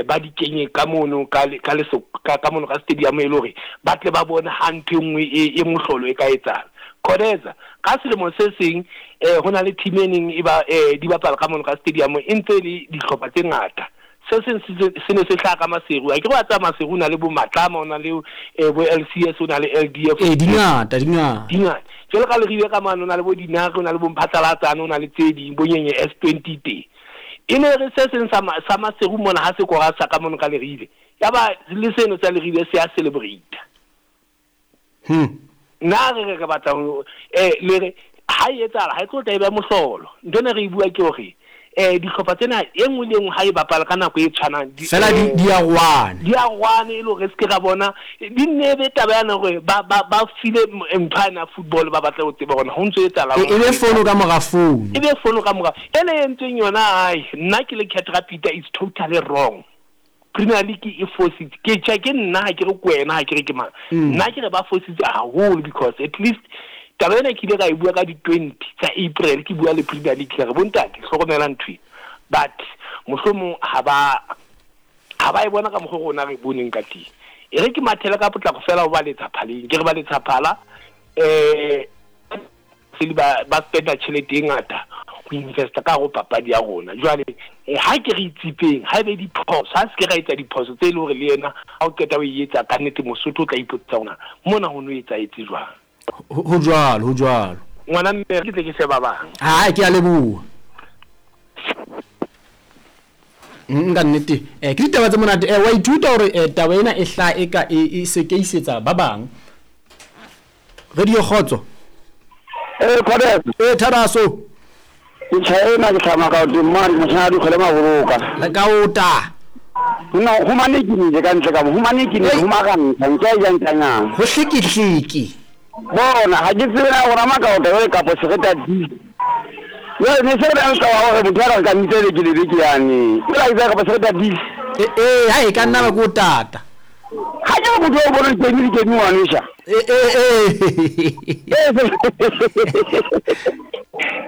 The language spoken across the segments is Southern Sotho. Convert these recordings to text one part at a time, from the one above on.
Ba di kenye ka mono ka ka ka mono ka stadium e le hore ba tle ba bone ha ntho e nngwe e mohlolo e ka etsahala. Khodeza, ka selemo se seng ho na le team e neng e ba di bapala ka mono ka stadium e ntse e le dihlopha tse ngata. Se seng se ne se hlaha ka Maseru. Akere wa tseba Maseru o na le bo Matlama, o na le bo LCS, o na le LDF. Ee, di ngata, di ngata. Di ngata. Jwalo ka Leribe ka mane o na le bo Dinare, o na le bo Mphatlalatsane, o na le tse ding, bo Nyenye S20 teng. E ne re se seng sa sa Maseru mona ha se kora sa ka mono ka Leribe, yaba le seno sa Leribe se a celebrate. Nna re re re batla ho le re ha e etsahala ha e tlo tla e ba mohlolo. Ntho ena re e bua ke hore dihlopha tsena e nngwe le e nngwe ha e bapala ka nako e tshwanang di Fela di di arohane. Di arohane e le hore re se ke ra bona di nne e be taba yane hore ba ba ba file ntho yane ya football ba batla ho tseba hore ho ntso etsahala E be fono ka mora fono. E be fono ka mora. Ena e entsweng yona ai nna ke le Cat Rapita it's totally wrong. Premier League e fositse. Ke tjhe ke nna ha ke re ke wena ha ke re ke mang. Nna ke re ba fositse haholo because at least taba ena ke ile ka e bua ka di 20 tsa April ke bua le Premier League ka re bontate hlokomela ntho e. But mohlomong ha ba ha ba e bona ka mokgwa rona re boneng ka teng. E re ke mathele ka potlako fela ho ba letsa phaleng. Ke re ba letsa phala ba ba spenda tjhelete e ngata ho investa ka hare ho papadi ya rona. Jwale ha ke re itsipeng, ha ebe diphoso, ha se ke ra etsa diphoso tse e leng hore le yena ha o qeta ho e etsa kannete Mosotho o tla ipotsa hore mona ho no etsahetse jwang. Ho jwalo, ho jwalo. Ngwana mme ke tle ke fe ba bang. Hai, ke a leboha. Ka nnete ke ditaba tse monate. Wa ithuta hore taba ena e hlaha e ka e sekeisetsa ba bang. Radio Kgotso. Ee, Kgotso. Ee, Tharaso. Ke tjha ena ke hlama ka teng mane moshana dikgwele maboloka. Le ka ota. No, ho mane ke nile ka ntle ka mo, ho mane ke nile, ho marantsha, nke a jang tanyang. Ho hlekehleke. Bona, ha ke tsebe na rona makaota jwale kapo sereta di. Jwale ne se re na le taba ya hore motho ya ka re ka mmitsa beke le beke yane. Jwale ha ke tsebe kapa sereta di. Ee, ha e ka nna ba ke o tata. Ha ke re motho o bone dikemi dikemi ngwanesha. Ee.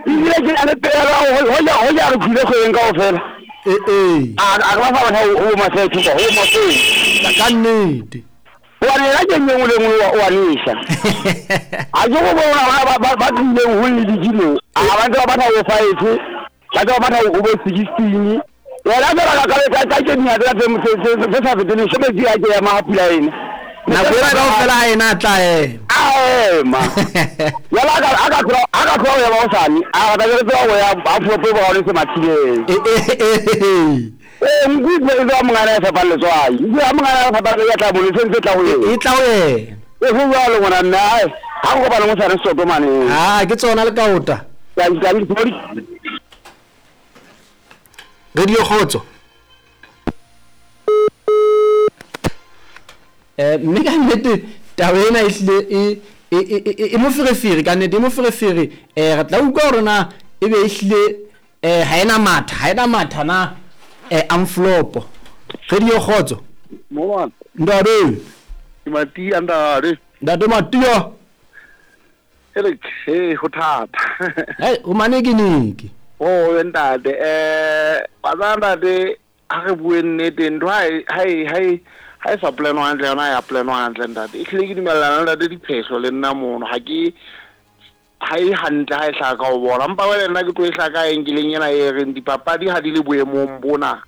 Ebile ke na le pehelo ya hore hoja hoja re tlile kgwebeng kaofela. Ee. A re ba fa batho ho masetho kwa ho maseng. Ka nnete. Hobane yena ke e nngwe le e nngwe o a nesha. Ha ke go bona ba ba tlileng ho league mo. A ba ntse ba batla ho five, ba ntse ba batla ho bo 16. Yena fela ka ka ka ke dingaka tse tse sa feteng leshome di a ke ema ha pula ena. Nako ena kaofela ha ena a tla ema. A ema. Jwale a ka a ka tloha a ka tloha ho ema hosane, a re tla be re tseba ho ya ha phopo e boraone se mathileng. Ee, nku e tseba mongana ya fapang letswai. Nku ya mongana ya fapang ya tla mo sentse tla ho yena. E tla ho yena. E ho jwalo ngwana mme ai ha go kopana hosane soto mane. Ah, ke tsona le kaota. Ka ka Radio Kgotso. Mme ka nnete taba ena e hlile e e e e moferefere ka nnete e moferefere. Re tla utlwa hore na e be e hlile ha ena matha ha ena matha na amflopo. Radio Kgotso. Mongwana. Ntate. Ke Matia ntate. Ntate Matia. Eric, hey, ho thata. Hey, o manekeneke. Oh, ntate, wa tseba ntate, ha re bue nnete, ntho ha e ha e ha e ha e sa planwa hantle yona ya planwa hantle ntate. Ehlile ke dumellana le ntate Diphehlo le nna mono, ha ke ha e hantle ha e hlaha ka ho bona. Empa jwale nna ke tlo e hlaha ka angle-eng ena e reng dipapadi ha di le boemong bona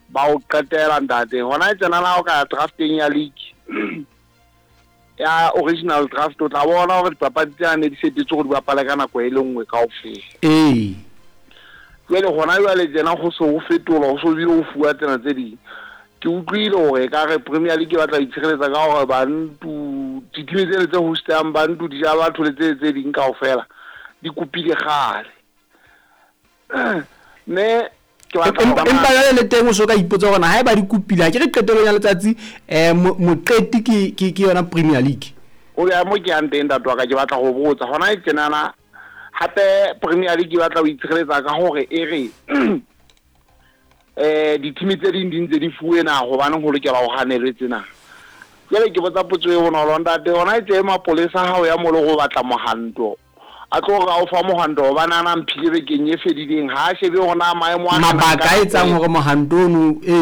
ba ho qetela ntate. Hona tjenana ha o ka ya drafteng ya league ya original draft o tla bona hore dipapadi tsena ne di setetswe hore di bapale ka nako e le nngwe kaofela. Ee. Jwale hona jwale tjena ho se ho fetolwa, ho so bile ho fuwa tsena tse ding. Ke utlwile hore ekare Premier League e batla ho itshireletsa ka hore bantu dithimi tsena tse hostang bantu di ja batho le tse tse ding kaofela di kopile kgale. Mme ke batla ho Empa jwale le teng o so ka ipotsa hore na haeba di kopile, ha ke re qetellong ya letsatsi moqeti ke ke ke yona Premier League. O ya mo ke yang teng ntate wa ka, ke batla ho botsa hona e tjenana hape Premier League e batla ho itshireletsa ka hore e re dithimi tse ding di ntse di fuwe na hobaneng ho lokela ho hanelwe tsena. Jwale ke botsa potso e bonolo ntate, hona e tje mapolesa ha o ya mo le go batla mohanto a tlo re a o fa mohanto hobane a na mphile bekeng e fedileng, ha a shebe hore na maemo a Mabaka a etsang hore mohanto ono ee.